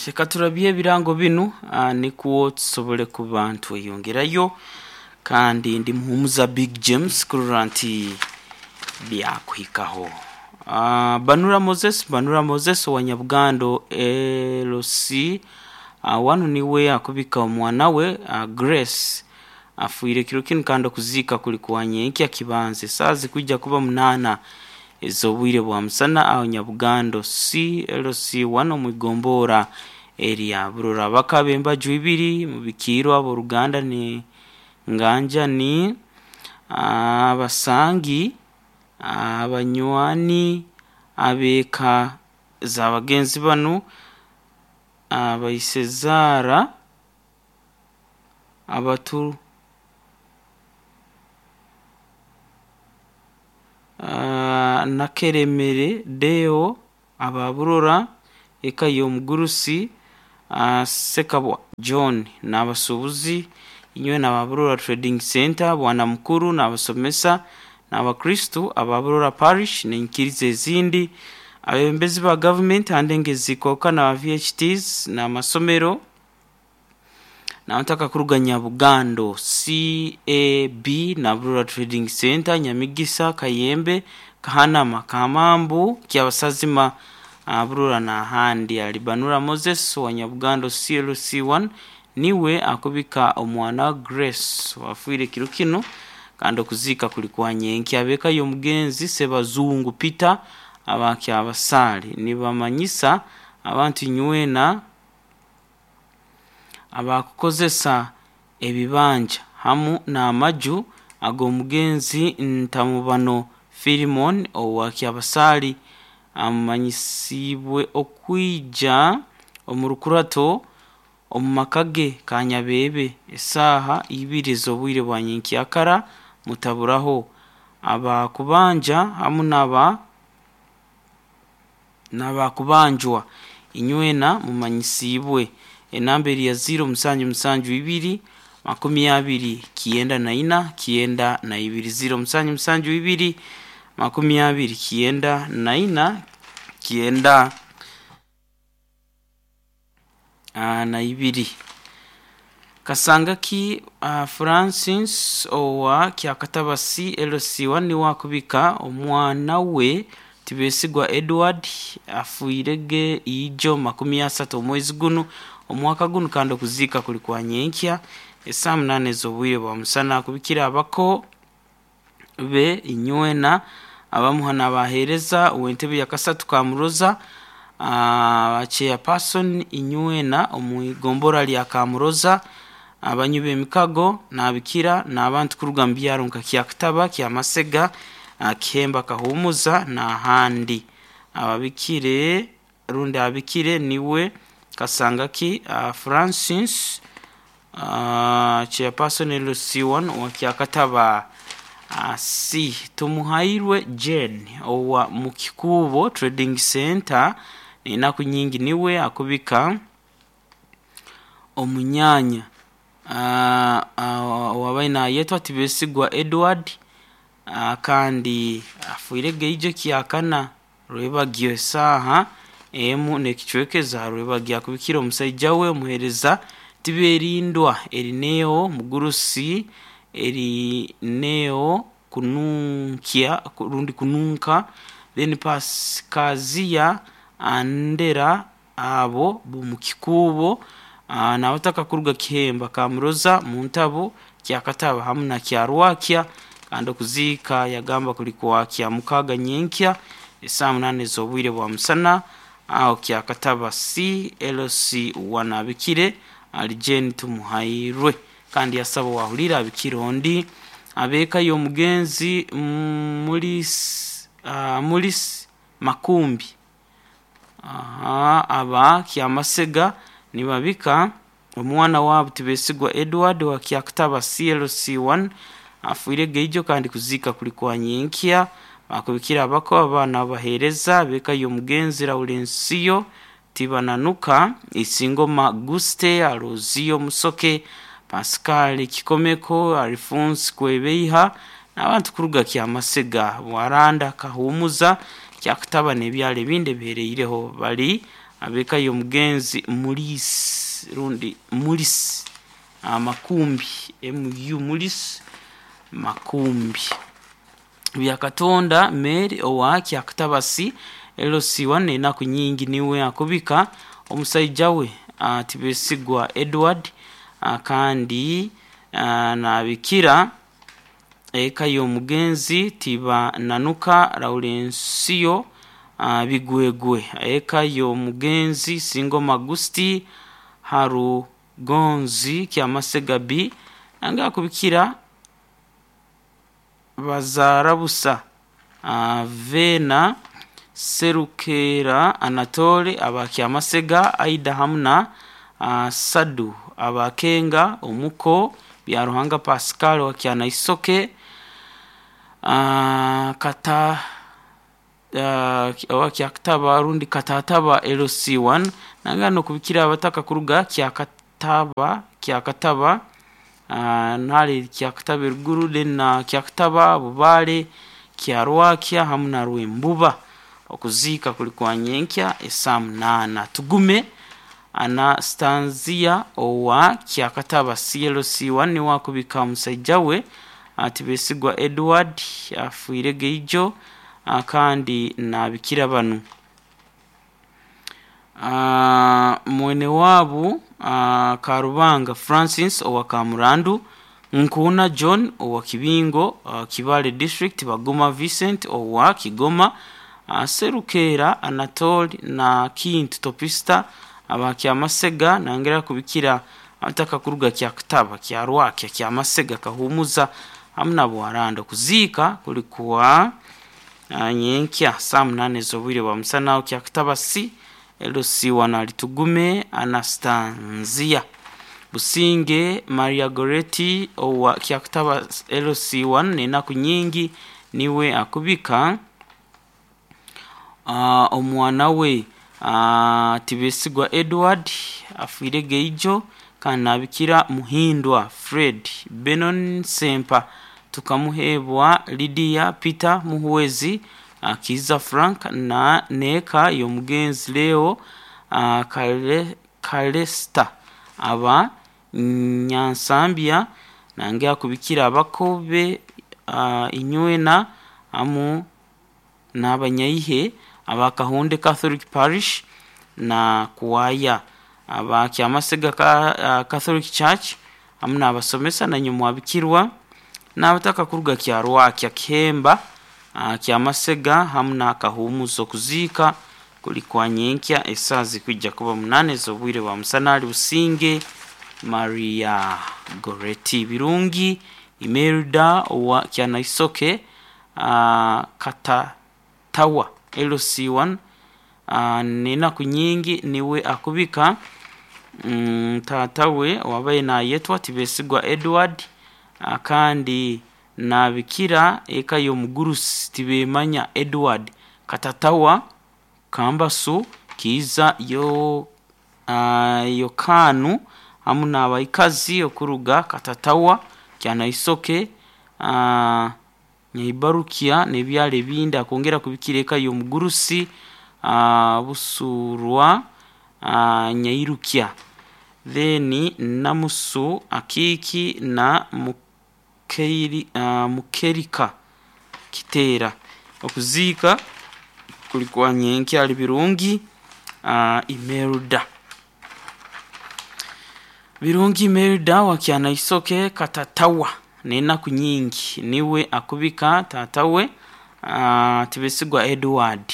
Reka turabye ebirango binu nikwo tusobole kuba nitweyongerayo kandi ndi Muhumuza Big James kurora nti byakuhikaho. Banura Moses, Banura Moses owa Nyabugando LC wanu niwe akubika omwana we Grace afiire kiro kinu kandi okuziika kuli kwa nyenkya kibanza esaaha zikwija kuba munaana ez'obwire bwa musana aho Nyabugando CLC1 omu igomboora erya Burora. Abaka b'embaju ibiri mubikiirwe ab'oruganda ni Nganja ni abasangi, abanywani, ab'eka za bagenzi banu, abaisezaara, abatu Nakeremere Deo aba Burora, eka y'omugurusi Ssekabwa John n'abasuubuzi inywena aba Burora Trading Centre, Bwana Mukuru n'abasomesa n'Abakristu aba Burora Parish n'enyikiriza ezindi, abebembezi ba gavumenti aha ndengo ezikooka n'aba VHTs n'amasomero n'abataka kuruga Nyabugando, CAB na Burora Trading Centre, Nyamigisa, Kayembe, Kahanama, Kamambu, Kyabasazima, Burora n'ahandi. Alibanura Moses owa Nyabugando CLC1 niwe akubika omwana Grace owafiire kiro kinu kandi okuziika kuli kwa nyenkya. Ab'eka y'omugenzi Ssebazungu Peter aba Kyabasaale nibamanyisa abantu inywena abakukozesa ebibanja hamu n'amaju ag'omugenzi Ntamubano Philemon owa Kyabasaali amanyisiibwe okwija omu rukurato omu maka ge Kanyabeebe esaaha ibiri ez'obwire bwa nyenkyakara mutaburaho. Abakubanja hamu n'aba n'abakubanjwa inywena mumanyisiibwe. Enamba eri ya ziiro musanju musanju ibiri makumi abiri kyenda na ina kyenda na ibiri ziiro musanju musanju ibiri makumi abiri kyenda na ina kyenda na ibiri. Kasangaki Francis owa Kyakataba CLC1 niwe akubika omwana we Tibesigwa Edward afiire ge ijo makumi asatu omwezi gunu omwaka gunu kandi okuziika kuli kwa nyenkya esaaha munaana ez'obwire bwa musana. Akubikire abako be inywena abamuha n'abaheereza ow'entebe ya kasatu Kamuroza, Chairperson inywena omu igombora lya Kamuroza, abanywi b'emikago n'abikira n'abantu kuruga mu byaro nka Kyakitaba, Kyamasega, Kihemba Kahumuza n'ahandi. Ababikire rundi abikire niwe Kasangaki Francis Chairperson LC1 owa Kyakataba C. Tumuhairwe Jane owa Mukikuubo Trading Centre n'enaku nyingi niwe akubika omunyaanya owabaire nayetwa Tibesigwa Edward kandi afiire geijo kyakana rwebagyo esaaha emu n'ekicweka eza rwebagyo akubikire omusaija we omuheereza Tiberindwa Erineo Mugurusi Erineo Kununkya rundi Kununka then Pasikaziya Andera abo b'omukikuubo n'abataka kuruga Kihemba Kamuroza Muntabo Kyakataba hamu na Kyarwakya kandi okuziika yagamba kuli kwa Kyamukaaga nyenkya esaaha munaana ez'obwire bwa musana aho Kyakataba CLC1 abikire ali Jane Tumuhairwe kandi yasaba owahuriire abikire ondi ab'eka y'omugenzi Mulisi Makumbi aba Kyamasega nibabika omwana waabo Tibesigwa Edward owa Kyakataba CLC1 afiire geijo kandi kuziika kuli kwa nyenkya. Bakubikire abako abaana abaheereza ab'eka y'omugenzi Laurensiyo Tibananuka, Isingoma Guste, Aloziyo Musoke, Pascal Kikomeko, Alphonse Kwebeiha n'abantu kuruga Kyamasega, Bwaranda, Kahumuza, Kyakataba n'ebyaro ebindi ebihereireho bari. Ab'eka y'omugenzi Mulisi rundi Mulisi Makumbi MU Mulisi Makumbi. Byakatonda Mary owa Kyakatabasi LC1 n'enaku nyingi niwe akubika omusaija we Tibesigwa Edward kandi nabikira eka y'omugenzi Tibananuka Laurencio Bigwegwe, eka y'omugenzi Singoma Agusti Harugonzi Kyamasega B nange akubikira Bazarabusa Vena Serukera Anatole aba Kyamasega Aida hamu na Sadu abakenga omuko Byaruhanga Pascal wa Kyanaisoke kata owa Kyakataba rundi Katataba LC1 nangana nokubikira abataka kuruga Kyakataba Kyakataba nari Kyakataba eruguru then na Kyakataba Bubale Kyarwakya hamu na Rwembuba. Okuziika kuli kwa nyenkya esaa munaana. Tugume Anastanzia owa Kyakataba CLC1 niwe akubika omusaija we Tibesigwa Edward afiire geijo kandi nabikira banu. Mwene waabu Karubanga Francis owa Kamurandu, Nkuuna John owa Kibingo Kibaale District, Baguma Vincent owa Kigoma, Serukera Anatole na Kintu Topista aba Kyamasega nangera kubikira abataka kuruga Kyakataba Kyarwakya Kyamasega Kahumuza hamu na Bwaranda. Kuziika kuli kwa nyenkya saa munaana ez'obwire bwa musana Kyakataba C LC1 Alitugume Anastanzia. Businge Maria Goretti owa Kyakataba LC1 n'enaku nyingi niwe akubika omwana we Tibesigwa Edward afiire geijo kandi nabikira Muhindwa Fred Benon Sempa tukamuheebwa Lydia Peter Muhwezi Kiiza Frank na n'eka y'omugenzi Leo Kalesta aba Nyansambya nange akubikira abakobe inywena hamu n'abanyaihe aba Kahunde Catholic Parish na Kuwaya aba Kyamasega Catholic Church hamu n'abasomesa nanywe mwabikirwa n'abataka kuruga Kyarwakya Kihemba Kyamasega hamu na Kahumuza. Okuziika kuli kwa nyenkya esaaha zikwija kuba munaana ez'obwire bwa musana ali Businge Maria Goretti. Birungi Imelda owa Kyanaisoke Katatawa LC1 n'enaku nyingi niwe akubika taata we owabaire nayetwa Tibesigwa Edward kandi nabikira eka y'omugurusi Tibemanya Edward Katatawa Kambasu Kiiza Yokaanu hamu n'abaikazi okuruga Katatawa Kyanaisoke Nyaibarukya n'ebyaro ebindi. Akwongera kubikira eka y'omugurusi Busurwa Nyairukya then Namusu Akiiki na Mukerika Kiteera. Okuziika kuli kwa nyenkya ali Birungi Imelda. Birungi Imelda wa Kyanaisoke Katatawa n'enaku nyingi niwe akubika taata we Tibesigwa Edward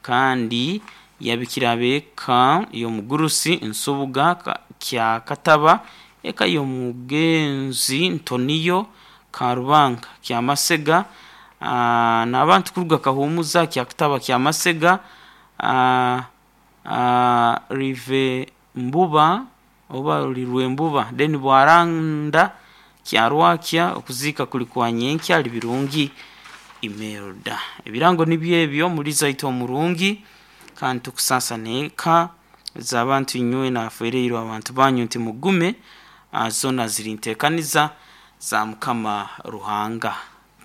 kandi yabikira ab'eka y'omugurusi Nsubuga Kyakataba, eka y'omugenzi Ntoniyo Karubanga Kyamasega n'abantu kuruga Kahumuza Kyakataba Kyamasega Rive Mbuba oba Rwembuba then Bwaranda Kyarwakya. Okuziika kuli kwa nyenkya ali Birungi Imelda. Ebirango nibyo ebyo muri zaitu omurungi kandi tukusaasa n'eka z'abantu inywe nafereirwe abantu banyu nti mugume zoona ziri nteekaniza za Mukama Ruhanga.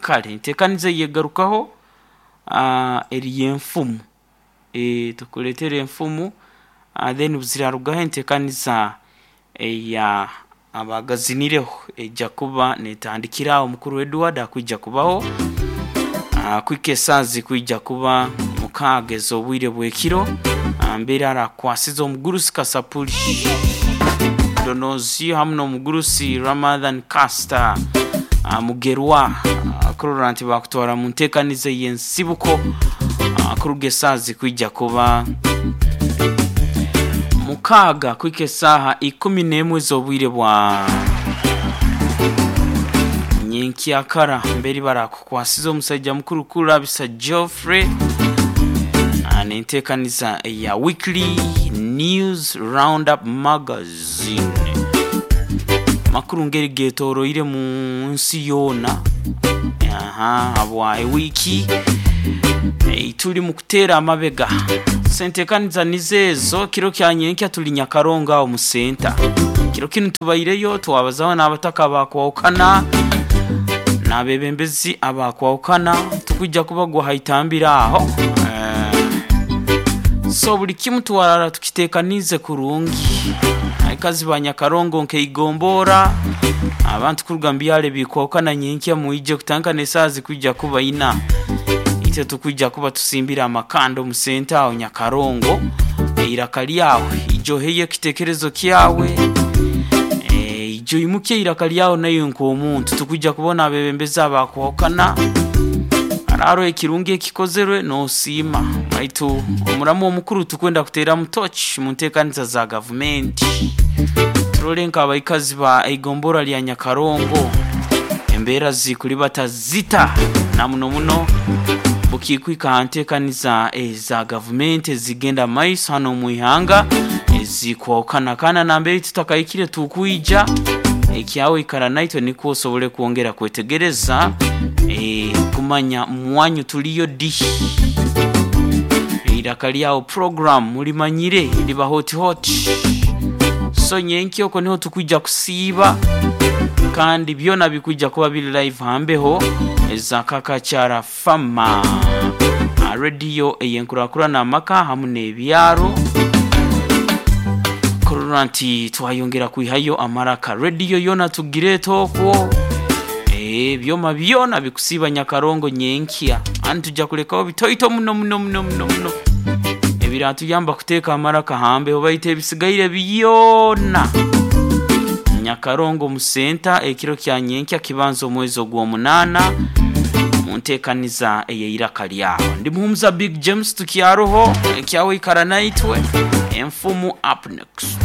Kale enteekaniza eyegarukaho eri y'enfumu. Tukuleetera enfumu. Then buzirarugaho enteekaniza eya abagazinireho eija kuba netandikira aho mukuru Edward akwija kubaho kuhika esaaha zikwija kuba mukaaga ez'obwire bw'ekiro mbere arakwasiza omugurusi Kasapuli Donozi hamu n'omugurusi Ramadhan Caster Mugerwa kurora nti bakutwara mu nteekaniza ey'ensibuko kuruga esaaha zikwija kuba mukaaga kuhika esaaha 11 ez'obwire bwa nyenkyakara mberi barakukwasiza omusaija mukuru Kulabisa Geoffrey n'enteekaniza eya Weekly News Roundup Magazine. Makuru ngeri getoroire mu nsi yoona aha habwa ewiiki turi mu kuteera amabega. Sentekaniza nizo ezo kiro kya nyenkya turi Nyakarongo aho mu senta. Kiro kinu tubaireyo twabazaho n'abataka bakwahukana n'abebembezi abakwahukana tukwija kubagwa haitambira aho. So buli kimu twarara tukitekaniize kurungi. Aikazi ba Nyakarongo nkeigombora abantu kuruga mu byaro ebikwahukana nyenkya mwije kutandika esaaha zikwija kuba ina. Itwe tukwija kuba tusimbire amakanda omu senta aho Nyakarongo eiraka ryawe ija oheyo ekitekerezo kyawe ija oimukye eiraka ryawe naiwe nk'omuntu tukwija kubona abebembezi abakwahukana hariho ekirungi ekikozerwe nosiima baitu omuramu omukuru tukwenda kuteeramu tochi mu nteekaniza za gavumenti turore nk'abaikazi ba eigombora rya Nyakarongo embeera zikuribata zita na muno muno bukikwika aha nteekaniza eza gavumenti ezigenda mu maiso hano omu ihanga ezikwahukana kandi nambere tutakahikire tukwija ekyawe ikara naitwe nikwo osobole kwongera kwetegereza kumanya mwanyu tuliyo di eiraka lyawo program mulimanyire liba hot hot so nyenkya okwo niho tukwija kusiiba kandi byona bikwija kuba biri live hambeho eza Kakakyara Fama radio ey'enkurakurana amaka hamu n'ebyaro kurora nti twayongera kwihayo amaraka radio yona tugireeta okwo ebyoma byona bikusiiba Nyakarongo nyenkya ani tujja kulekaho bitoito muno muno muno muno muno ebiratuyamba kuteeka amaraka hambeho baitu ebisigaire byona Nyakarongo mu senta ekiro kya nyenkya kibanza omwezi ogw'omunaana mu nteekaniza ey'eiraka lyawe. Ndi Muhumuza Big James tukyaroho ekyawe ikara naitwe enfumu up next.